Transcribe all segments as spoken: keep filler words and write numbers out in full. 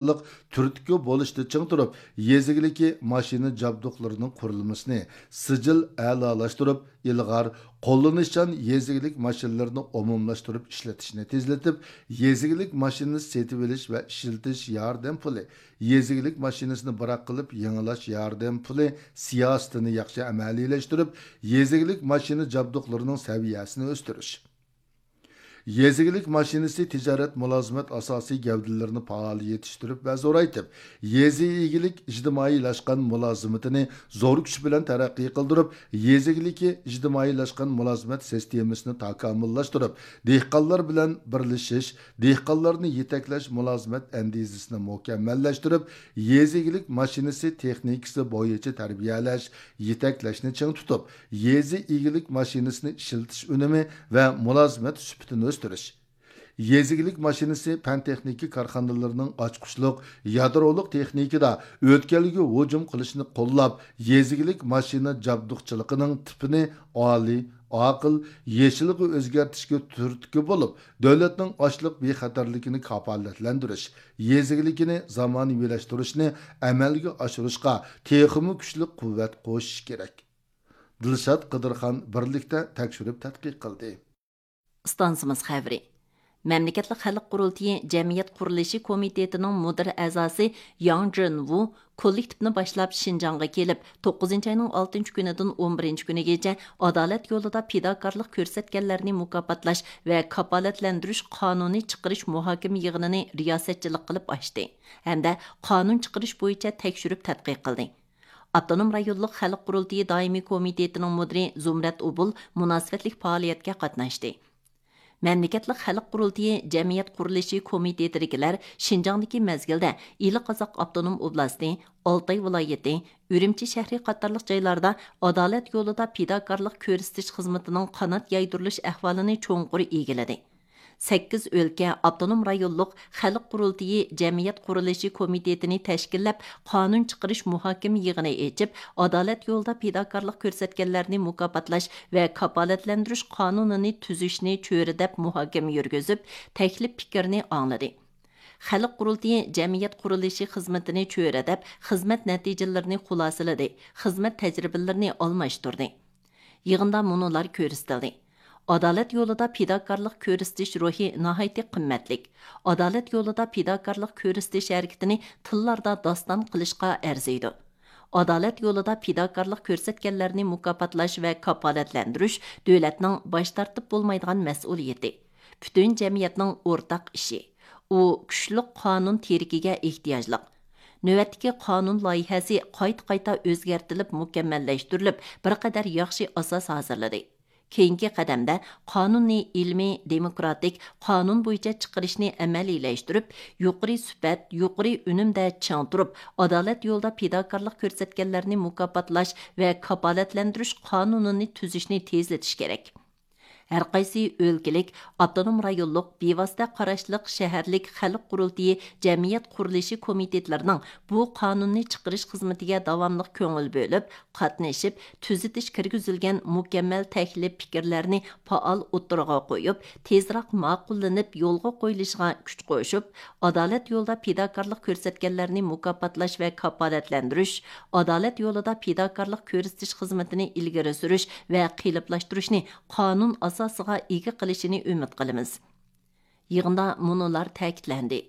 تۈرتكە بولۇشتا چىڭ تۇرۇپ، يېزا ئىگىلىكى ماشىنا جابدۇقلىرىنىڭ قۇرۇلمىسىنى سىجىل ئەلالاشتۇرۇپ، ئىلغار، قوللىنىشچان يېزا ئىگىلىك ماشىنىلىرىنى ئومۇملاشتۇرۇپ ئىشلىتىشنى تېزلىتىپ، يېزا ئىگىلىك ماشىنىسى سېتىۋېلىش ۋە ئىشلىتىش ياردەم پۇلى، يېزا ئىگىلىك ماشىنىسىنى بىراق قىلىپ يېڭىلاش ياردەم پۇلى سىياسىتىنى ياخشى ئەمەلىيلەشتۈرۈپ، يېزا ئىگىلىك ماشىنا جابدۇقلىرىنىڭ سەۋىيەسىنى ئۆستۈرۈش. يېزا ئىگىلىك ماشىنىسى تىجارەت مۇلازىمەت ئاساسىي گەۋدىلىرىنى پائال يېتىشتۈرۈپ ۋە زورايتىپ، يېزا ئىگىلىك ئىجتىمائىيلاشقان مۇلازىمىتىنى زور كۈچ بىلەن تەرەققىي قىلدۇرۇپ، يېزا ئىگىلىكى ئىجتىمائىيلاشقان مۇلازىمەت سىستېمىسىنى تاكامۇللاشتۇرۇپ، دېھقانلار بىلەن بىرلىشىش، دېھقانلارنى يېتەكلەش مۇلازىمەت ئەندىزىسىنى مۇكەممەللەشتۈرۈپ، يېزا ئىگىلىك ماشىنىسى تېخنىكىسى بويىچە تەربىيەلەش، يېتەكلەشنى چىڭ تۇتۇپ، يېزا ئىگىلىك ماشىنىسىنى ئىشلىتىش ئۈنۈمى ۋە مۇلازىمەت سۈپىتىنى ئۆستۈرۈش. يېزا ئىگىلىك ماشىنىسى پەن تېخنىكا كارخانىلىرىنىڭ ئاچقۇچلۇق يادرولۇق تېخنىكىدا ئۆتكەلگە ھۇجۇم قىلىشنى قوللاپ، يېزا ئىگىلىك ماشىنا جابدۇقچىلىقىنىڭ تىپىنى ئالىي، ئاقىل، يېشىلغا ئۆزگەرتىشكە تۈرتكە بولۇپ، دۆلەتنىڭ ئاشلىق بىخەتەرلىكىنى كاپالەتلەندۈرۈش، يېزا ئىگىلىكىنى زامانىۋىلاشتۇرۇشنى ئەمەلگە ئاشۇرۇشقا تېخىمۇ كۈچلۈك قۇۋۋەت قوشۇش كېرەك. دىلشات قىدىرخان بىرلىكتە تەكشۈرۈپ تەتقىق قىلدى. ئىستانسىمىز خەۋىرى. مەملىكەتلىك خەلق قۇرۇلتىيى جەمئىيەت قۇرۇلۇشى كومىتېتىنىڭ مۇدىر ئەزاسى ياڭ جېنۋۇ كوللېكتىپنى باشلاپ شىنجاڭغا كېلىپ، توققۇزىنچى ئاينىڭ ئالتىنچى كۈنىدىن ئون بىرىنچى كۈنىگىچە ئادالەت يولىدا پىداكارلىق كۆرسەتكەنلەرنى مۇكاپاتلاش ۋە كاپالەتلەندۈرۈش قانۇنى چىقىرىش مۇھاكىمە يىغىنىنى رىياسەتچىلىك قىلىپ ئاچتى ھەمدە قانۇن چىقىرىش بويىچە تەكشۈرۈپ تەتقىق قىلدى. ئاپتونوم رايونلۇق خەلق قۇرۇلتىيى دائىمىي كومىتېتىنىڭ مۇدىرى زۇمرەت ئوبۇل مۇناسىۋەتلىك پائالىيەتكە قاتناشتى. مەملىكەتلىك خەلق قۇرۇلتىيى جەمئىيەت قۇرۇلۇشى كومىتېتىدىكىلەر شىنجاڭدىكى مەزگىلدە ئىلى قازاق ئاپتونوم ئوبلاستى، ئالتاي ۋىلايىتى، ئۈرۈمچى شەھىرى قاتارلىق جايلاردا ئادالەت يولىدا پىداكارلىق كۆرسىتىش خىزمىتىنىڭ قانات يايدۇرۇلۇش ئەھۋالىنى چوڭقۇر ئىگىلىدى. سەككىز ئۆلكە، ئاپتونوم رايونلۇق خەلق قۇرۇلتىيى جەمئىيەت قۇرۇلۇشى كومىتېتىنى تەشكىللەپ، قانۇن چىقىرىش مۇھاكىمە يىغىنى ئېچىپ، ئادالەت يولىدا پىداكارلىق كۆرسەتكەنلەرنى مۇكاپاتلاش ۋە كاپالەتلەندۈرۈش قانۇنىنى تۈزۈشنى چۆرىدەپ مۇھاكىمە يۈرگۈزۈپ، تەكلىپ پىكىرنى ئاڭلىدى. خەلق قۇرۇلتىيى جەمئىيەت قۇرۇلۇشى خىزمىتىنى چۆرىدەپ، خىزمەت نەتىجىلىرىنى خۇلاسىلىدى، خىزمەت تەجرىبىلىرىنى ئالماشتۇردى. يىغىندا مۇنۇلار كۆرسىتىلدى. ئادالەت يولىدا پىداكارلىق كۆرسىتىش روھى ناھايىتى قىممەتلىك. ئادالەت يولىدا پىداكارلىق كۆرسىتىش ھەرىكىتىنى تىللاردا داستان قىلىشقا ئەرزىيدۇ. ئادالەت يولىدا پىداكارلىق كۆرسەتكەنلەرنى مۇكاپاتلاش ۋە كاپالەتلەندۈرۈش دۆلەتنىڭ باش تارتىپ بولمايدىغان مەسئۇلىيىتى، پۈتۈن جەمئىيەتنىڭ ئورتاق ئىشى. ئۇ كۈچلۈك قانۇن تىرىكىگە ئېھتىياجلىق. نۆۋەتتىكى قانۇن لايىھەسى قايتا-قايتا ئۆزگەرتىلىپ، مۇكەممەللەشتۈرۈلۈپ، بىر قەدەر ياخشى ئاساس ھازىرلىدى. كېيىنكى قەدەمدە قانۇننى ئىلمىي، دېموكراتىك، قانۇن بويىچە چىقىرىشنى ئەمەلىيلەشتۈرۈپ، يۇقىرى سۈپەت، يۇقىرى ئۈنۈمدە چىڭ تۇرۇپ، ئادالەت يولىدا پىداكارلىق كۆرسەتكەنلەرنى مۇكاپاتلاش ۋە كاپالەتلەندۈرۈش قانۇنىنى تۈزۈشنى تېزلىتىش كېرەك. ھەرقايسى ئۆلكىلىك، ئاپتونوم رايونلۇق، بىۋاسىتە قاراشلىق شەھەرلىك خەلق قۇرۇلتىيى جەمئىيەت قۇرۇلۇشى كومىتېتلىرىنىڭ بۇ قانۇننى چىقىرىش خىزمىتىگە داۋاملىق كۆڭۈل بۆلۈپ، قاتنىشىپ، تۈزىتىش كىرگۈزۈلگەن مۇكەممەل تەكلىپ پىكىرلەرنى پائال ئوتتۇرىغا قويۇپ، تېزراق ماقۇللىنىپ يولغا قويۇلۇشىغا كۈچ قوشۇپ، ئادالەت يولىدا پىداكارلىق كۆرسەتكەنلەرنى مۇكاپاتلاش ۋە كاپالەتلەندۈرۈش، ئادالەت يولىدا پىداكارلىق كۆرسىتىش خىزمىتىنى ئىلگىرى سۈرۈش ۋە قېلىپلاشتۇرۇشنى قانۇن ئاساسىغا ئىگە قىلىشىنى ئۈمىد قىلىمىز. يىغىندا مۇنۇلار تەكىتلەندى.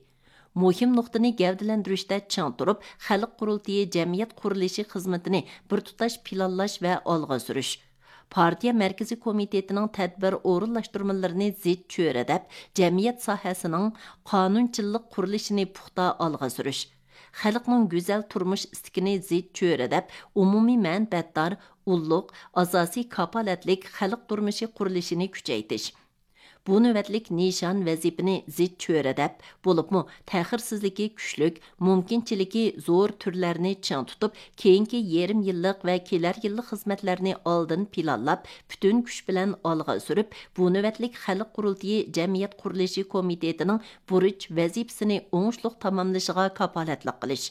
مۇھىم نۇقتىنى گەۋدىلەندۈرۈشتە چىڭ تۇرۇپ، خەلق قۇرۇلتىيى جەمئىيەت قۇرۇلۇشى خىزمىتىنى بىر تۇتاش پىلانلاش ۋە ئالغا سۈرۈش. پارتىيە مەركىزىي كومىتېتىنىڭ تەدبىر ئورۇنلاشتۇرمىلىرىنى زىچ چۆرىدەپ، جەمئىيەت ساھەسىنىڭ قانۇنچىللىق قۇرۇلۇشىنى پۇختا ئالغا سۈرۈش. خەلقنىڭ گۈزەل تۇرمۇش ئىستىكىنى زىچ چۆرىدەپ، ئومۇمىي مەنپەئەتدار، ئۇللۇق، ئاساسىي كاپالەتلىك خەلق تۇرمۇشى قۇرۇلۇشىنى كۈچەيتىش. بۇ نۆۋەتلىك نىشان ۋەزىپىنى زىچ چۆرىدەپ، بولۇپمۇ تەخىرسىزلىكى كۈچلۈك، مۇمكىنچىلىكى زور تۈرلەرنى چىڭ تۇتۇپ، كېيىنكى يېرىم يىللىق ۋە كېلەر يىللىق خىزمەتلەرنى ئالدىن پىلانلاپ، پۈتۈن كۈچ بىلەن ئالغا سۈرۈپ، بۇ نۆۋەتلىك خەلق قۇرۇلتىيى جەمئىيەت قۇرۇلۇشى كومىتېتىنىڭ بۇرچ ۋەزىپىسىنى ئوڭۇشلۇق تاماملىشىغا كاپالەتلىك قىلىش.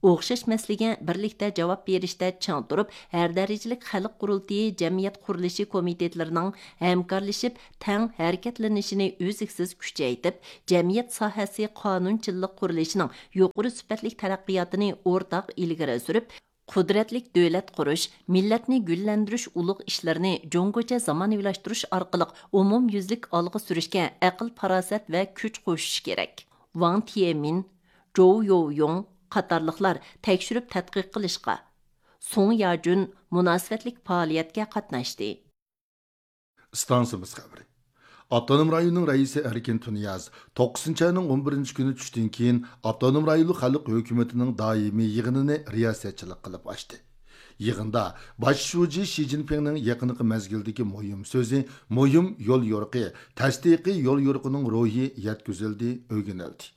ئوخشاش مەسىلىگە بىرلىكتە جاۋاب بېرىشتە چىڭ تۇرۇپ، ھەر دەرىجىلىك خەلق قۇرۇلتىيى، جەمئىيەت قۇرۇلۇشى كومىتېتلىرىنىڭ ھەمكارلىشىپ تەڭ ھەرىكەتلىنىشىنى ئۈزلۈكسىز كۈچەيتىپ، جەمئىيەت ساھەسى قانۇنچىلىق قۇرۇلۇشىنىڭ يۇقىرى سۈپەتلىك تەرەققىياتىنى ئورتاق ئىلگىرى سۈرۈپ، قۇدرەتلىك دۆلەت قۇرۇش، مىللەتنى گۈللەندۈرۈش ئۇلۇغ ئىشلىرىنى جۇڭگوچە زامانىۋىلاشتۇرۇش ئارقىلىق ئومۇميۈزلۈك ئالغا سۈرۈشكە ئەقىل-پاراسەت ۋە كۈچ قوشۇش كېرەك. ۋاڭ تيېمىن، جوۋ يوۋيۇڭ قاتارلىقلار تەكشۈرۈپ تەتقىق قىلىشقا، سۇڭ ياجۈن مۇناسىۋەتلىك پائالىيەتكە قاتناشتى. ئىستانسىمىز خەۋىرى. ئاپتونوم رايوننىڭ رەئىسى ئەركىن تۇنىياز توققۇزىنچى ئاينىڭ ئون بىرىنچى كۈنى چۈشتىن كېيىن ئاپتونوم رايونلۇق خەلق ھۆكۈمىتىنىڭ دائىمىي يىغىنىنى رىياسەتچىلىك قىلىپ ئاچتى. يىغىندا باش شۇجى شى جىنپىڭنىڭ يېقىنقى مەزگىلدىكى مۇھىم سۆزى، مۇھىم يول يورۇقى، تەستىقىي يول يورۇقىنىڭ روھى يەتكۈزۈلدى، ئۆگىنىلدى.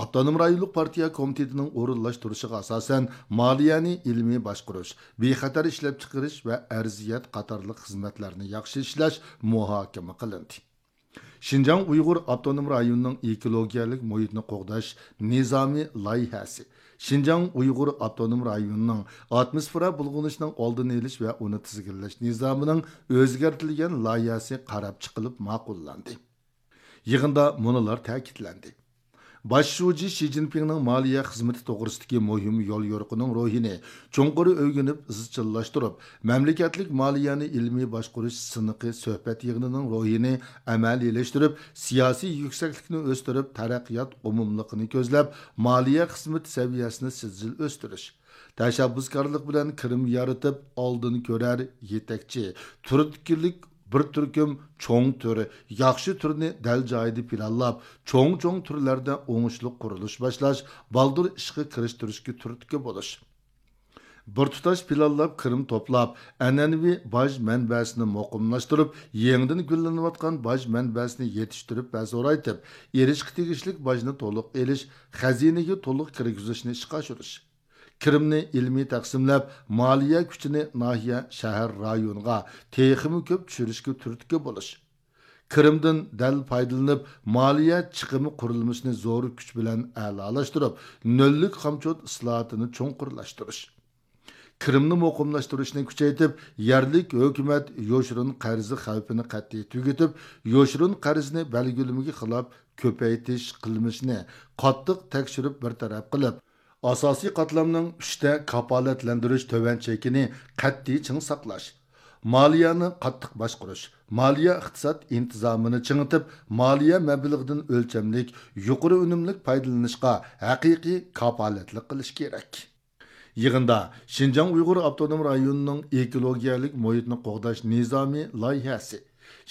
ئاپتونوم رايونلۇق پارتىيە كومىتېتىنىڭ ئورۇنلاشتۇرۇشىغا ئاساسەن، مالىيەنى ئىلمىي باشقۇرۇش، بىخەتەر ئىشلەپچىقىرىش ۋە ئەرزىيەت قاتارلىق خىزمەتلەرنى ياخشى ئىشلەش مۇھاكىمە قىلىندى. شىنجاڭ ئۇيغۇر ئاپتونوم رايونىنىڭ ئېكولوگىيەلىك مۇھىتنى قوغداش نىزامى لايىھەسى، شىنجاڭ ئۇيغۇر ئاپتونوم رايونىنىڭ ئاتموسفېرا بۇلغىنىشنىڭ ئالدىنى ئېلىش ۋە ئۇنى تىزگىنلەش نىزامىنىڭ ئۆزگەرتىلگەن لايىھەسى قاراپ چىقىلىپ ماقۇللاندى. يىغىندا مۇنۇلار تەكىتلەندى. باش شۇجى شى جىنپىڭنىڭ مالىيە خىزمىتى توغرىسىدىكى مۇھىم يوليورۇقىنىڭ روھىنى چوڭقۇر ئۆگىنىپ ئىزچىللاشتۇرۇپ، مەملىكەتلىك مالىيەنى ئىلمىي باشقۇرۇش سىنىقى سۆھبەت يىغىنىنىڭ روھىنى ئەمەلىيلەشتۈرۈپ، سىياسىي يۈكسەكلىكنى ئۆستۈرۈپ، تەرەققىيات ئومۇملۇقىنى كۆزلەپ، مالىيە خىزمىتى سەۋىيەسىنى سىجىل ئۆستۈرۈش، تەشەببۇسكارلىق بىلەن كىرىم يارىتىپ، ئالدىن كۆرەر، يېتەكچى، تۈرتكىلىك بىر تۈركۈم چوڭ تۈر، ياخشى تۈرنى دەل جايىدا پىلانلاپ، چوڭ-چوڭ تۈرلەردە ئوڭۇشلۇق قۇرۇلۇش باشلاش، بالدۇر ئىشقا كىرىشتۈرۈشكە تۈرتكە بولۇش. بىر تۇتاش پىلانلاپ كىرىم توپلاپ، ئەنئەنىۋى باج مەنبەسىنى مۇقىملاشتۇرۇپ، يېڭىدىن گۈللىنىۋاتقان باج مەنبەسىنى يېتىشتۈرۈپ ۋە زورايتىپ، ئېلىشقا تېگىشلىك باجنى تولۇق ئېلىش، خەزىنىگە تولۇق كىرگۈزۈشنى ئىشقا ئاشۇرۇش. كىرىمنى ئىلمىي تەقسىملەپ، مالىيە كۈچىنى ناھىيە، شەھەر، رايونغا تېخىمۇ كۆپ چۈشۈرۈشكە تۈرتكە بولۇش. كىرىمدىن دەل پايدىلىنىپ، مالىيە چىقىمى قۇرۇلمىسىنى زور كۈچ بىلەن ئەلالاشتۇرۇپ، نۆللۈك خامچوت ئىسلاھاتىنى چوڭقۇرلاشتۇرۇش. كىرىمنى مۇقىملاشتۇرۇشنى كۈچەيتىپ، يەرلىك ھۆكۈمەت يوشۇرۇن قەرزى خەۋپىنى قەتئىي تۈگىتىپ، يوشۇرۇن قەرزنى بەلگىلىمىگە خىلاپ كۆپەيتىش قىلمىشىنى قاتتىق تەكشۈرۈپ بىر تەرەپ قىلىپ، ئاساسىي قاتلامنىڭ ئۈچتە كاپالەتلەندۈرۈش تۆۋەن چېكىنى قەتئىي چىڭ ساقلاش، مالىيەنى قاتتىق باشقۇرۇش، مالىيە ئىقتىساد ئىنتىزامىنى چىڭىتىپ، مالىيە مەبلىغىدىن ئۆلچەملىك، يۇقىرى ئۈنۈملۈك پايدىلىنىشقا ھەقىقىي كاپالەتلىك قىلىش كېرەك. يىغىندا شىنجاڭ ئۇيغۇر ئاپتونوم رايونىنىڭ ئېكولوگىيەلىك مۇھىتنى قوغداش نىزامى لايىھەسى،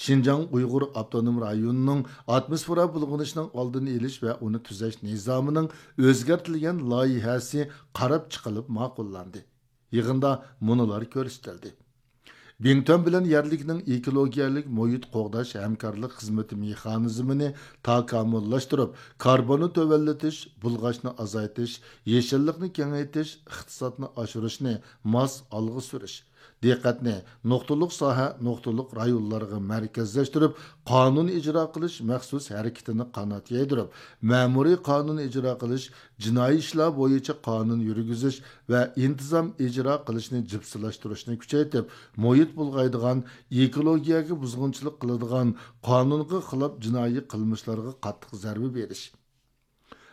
شىنجاڭ ئۇيغۇر ئاپتونوم رايونىنىڭ ئاتموسفېرا بۇلغىنىشنىڭ ئالدىنى ئېلىش ۋە ئۇنى تۈزەش نىزامىنىڭ ئۆزگەرتىلگەن لايىھەسى قاراپ چىقىلىپ ماقۇللاندى. يىغىندا مۇنۇلار كۆرسىتىلدى. بىڭتۈەن بىلەن يەرلىكنىڭ ئېكولوگىيەلىك مۇھىت قوغداش ھەمكارلىق خىزمىتى مېخانىزمىنى تاكامۇللاشتۇرۇپ، كاربوننى تۆۋەنلىتىش، بۇلغاشنى ئازايتىش، يېشىللىقنى كېڭەيتىش، ئىقتىسادنى ئاشۇرۇشنى ماس ئالغا سۈرۈش، دىققەتنى نۇقتىلىق ساھە، نۇقتىلىق رايونلارغا مەركەزلەشتۈرۈپ، قانۇن ئىجرا قىلىش مەخسۇس ھەرىكىتىنى قانات يايدۇرۇپ، مەمۇرىي قانۇن ئىجرا قىلىش، جىنايى ئىشلار بويىچە قانۇن يۈرگۈزۈش ۋە ئىنتىزام ئىجرا قىلىشنى جىپسىلاشتۇرۇشنى كۈچەيتىپ، مۇھىت بۇلغايدىغان، ئېكولوگىيەگە بۇزغۇنچىلىق قىلىدىغان، قانۇنغا خىلاپ جىنايى قىلمىشلارغا قاتتىق زەربە بېرىش.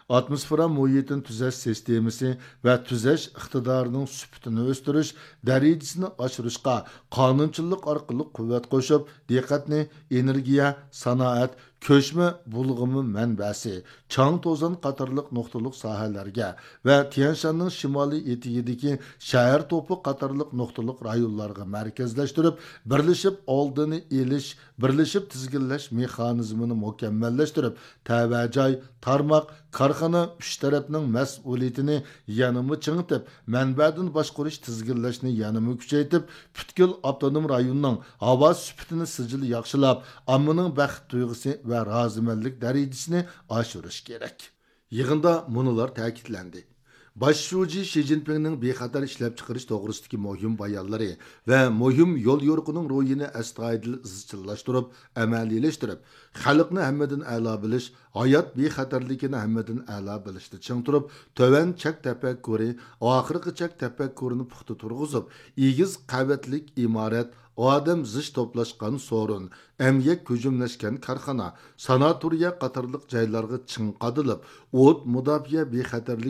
ئاتموسفېرا مۇھىتىنى تۈزەش سىستېمىسى ۋە تۈزەش ئىقتىدارىنىڭ سۈپىتىنى ئۆستۈرۈش، دەرىجىسىنى ئاشۇرۇشقا قانۇنچىلىق ئارقىلىق قۇۋۋەت قوشۇپ، دىققەتنى ئېنېرگىيە، سانائەت، كۆچمە بۇلغىما مەنبەسى، چاڭ توزان قاتارلىق نۇقتىلىق ساھەلەرگە ۋە تيەنشاننىڭ شىمالىي ئېتىكىدىكى شەھەر توپى قاتارلىق نۇقتىلىق رايونلارغا مەركەزلەشتۈرۈپ، بىرلىشىپ ئالدىنى ئېلىش، بىرلىشىپ تىزگىنلەش مېخانىزمىنى مۇكەممەللەشتۈرۈپ، تەۋە جاي، تارماق، كارخانا ئۈچ تەرەپنىڭ مەسئۇلىيىتىنى يەنىمۇ چىڭىتىپ، مەنبەدىن باشقۇرۇش، تىزگىنلەشنى يەنىمۇ كۈچەيتىپ، پۈتكۈل ئاپتونوم رايوننىڭ ھاۋا سۈپىتىنى سىجىل ياخشىلاپ، ئاممىنىڭ بەخت تۇيغۇسى ۋە رازىمەنلىك دەرىجىسىنى ئاشۇرۇش كېرەك. يىغىندا مۇنۇلار تەكىتلەندى. باش شۇجى شى جىنپىڭنىڭ بىخەتەر ئىشلەپچىقىرىش توغرىسىدىكى مۇھىم بايانلىرى ۋە مۇھىم يوليورۇقىنىڭ روھىنى ئەستايىدىل ئىزچىللاشتۇرۇپ، ئەمەلىيلەشتۈرۈپ، خەلقنى ھەممىدىن ئەلا بىلىش، ھايات بىخەتەرلىكىنى ھەممىدىن ئەلا بىلىشتە چىڭ تۇرۇپ، تۆۋەن چەك تەپەككۇرى، ئاخىرقى چەك تەپەككۇرىنى پۇختا تۇرغۇزۇپ، ئېگىز قەۋەتلىك ئىمارەت، ئادەم زىچ توپلاشقان سورۇن، ئەمگەك ھۇجۇملاشقان كارخانا، ساناتورىيە قاتارلىق جايلارغا چىڭ قادىلىپ، ئوت مۇداپىئە بىخەتەرلىك